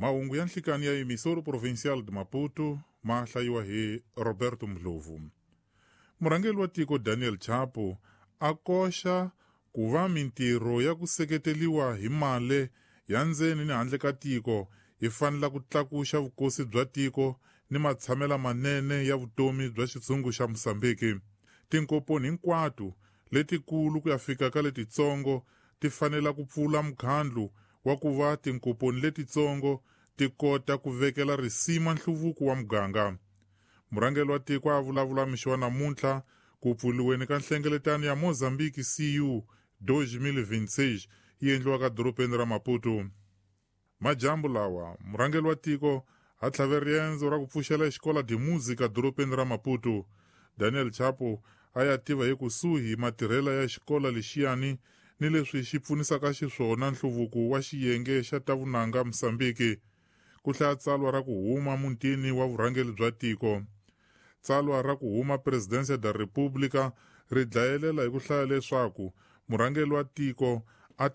Mahungu ya nhlikani ya Emissora Provincial de Maputo ma hlayiwa hi Roberto Ndlovu. Murhangeri wa tiko Daniel Chapo a koxa ku va mintirho ya ku seketeriwa hi mali ya ndzeni ni handle ka tiko yi fanela ku tlakuxa vukosi bya tiko ni matshamela manene ya vutomi bya xitshungu xa Mozambique. Tinkomponi hinkwato letikulu ku ya fika ka letitsongo ti fanela ku pfula mukhandlu wa ku va tinkomponi letitsongo ti kota ku vekela risima nhluvuko wa muganga. Murhangeri wa tiko a vulavula mixo wa namuntlha ku pfuriweni ka nhlengeletano ya Mozambique CU 2026 yi endliwaka dorobeni ra Maputo. Majambu lawa murhangeri wa tiko a tlhave riendzo ra ku pfuxela xikola de Música dorobeni ra Maputo. Daniel Chapo a ya tiva hi kusuhi matirhela ya xikola lexiyani ni leswi xi pfunisaka xiswona nhluvuko wa xiyenge xa ta vunanga Mozambique. Ku hlaya tsalwa ra ku huma mutini wa vurhangeri bya tiko. Tsalwa ra ku huma Presidência da República ri dlayelela hi ku hlaya leswaku murhangeri wa tiko